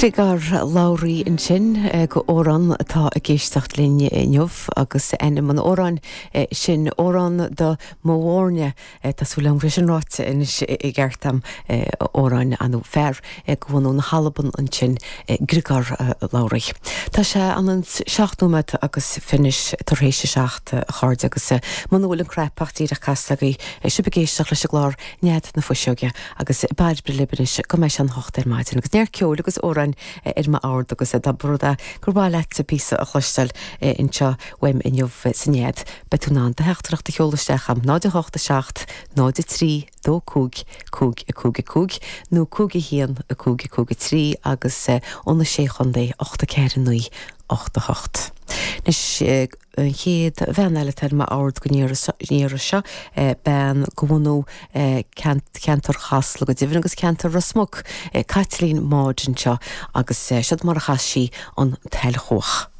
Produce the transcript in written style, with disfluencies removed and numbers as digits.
Griogair Labhruidh ansin go amhrán atá ag éisteacht linn inniu agus ainm an amhráin sin Amhrán do mo Mhúirne. Tá súil agam go raibh sin ráite anois i gceart a'm, amhrán nó fear de bhunadh na hAlban ansin, Griogair Labhruidh. Tá sé an 7 nóiméad agus fiche tar éis a 7, a chairde, agus muna bhfuil an cnaipe ach díreach casta agaibh, sibh ag éisteacht leis an gclár Nead na Fuiseoige agus Bairbre libh anois go mbeidh sé an hocht ar maidin agus neart ceoil agus amhráin ar m'ord agus dá mba rud é gur mhaith leatsa píosa a chloisteáil anseo uaim inniu sa Nead beidh tú in ann do theachtaireacht a sheoladh isteach a'm 0 8 7 0 3 2 5 5 5 5 nó 5 1 5 5 3 agus ó na Sé Chontae 8 4 9 8 8. Anois. An chéad bhean eile atá ar m'ord don iarraidh seo, bean de bhunadh ceantar Chasla go deimhin agus ceantar Ros Muc, Caitlín Maude anseo agus seod mar a chas sí an tSailchuach.